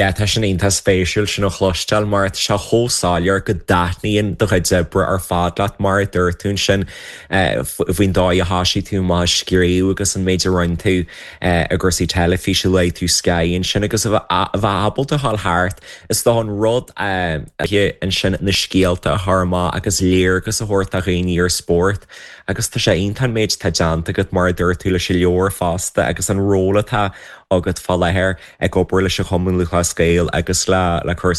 Yeah, tá sin iontach spéisiúil sin a chloisteáil mar tá sé chomh soiléir go dtaitníonn do chuid oibre ar fad leat mar a dúirt tú ansin faoin dóigh a thosaigh tú amach ag scríobh agus an méid a rinne tú i gcúrsaí teilifíse, luaigh tú Sky ansin agus a bheith ábalta a ghabháil thart is dócha an rud ansin na scéalta a chur amach agus léargas a thabhairt do dhaoine ar spórt agus tá sé iontach an méid atá déanta agat mar a dúirt tú leis an leabhar fosta agus an ról atá agat fá láthair. ag obair leis an Chumann Lúthchleas Gael agus le le cúrsaí.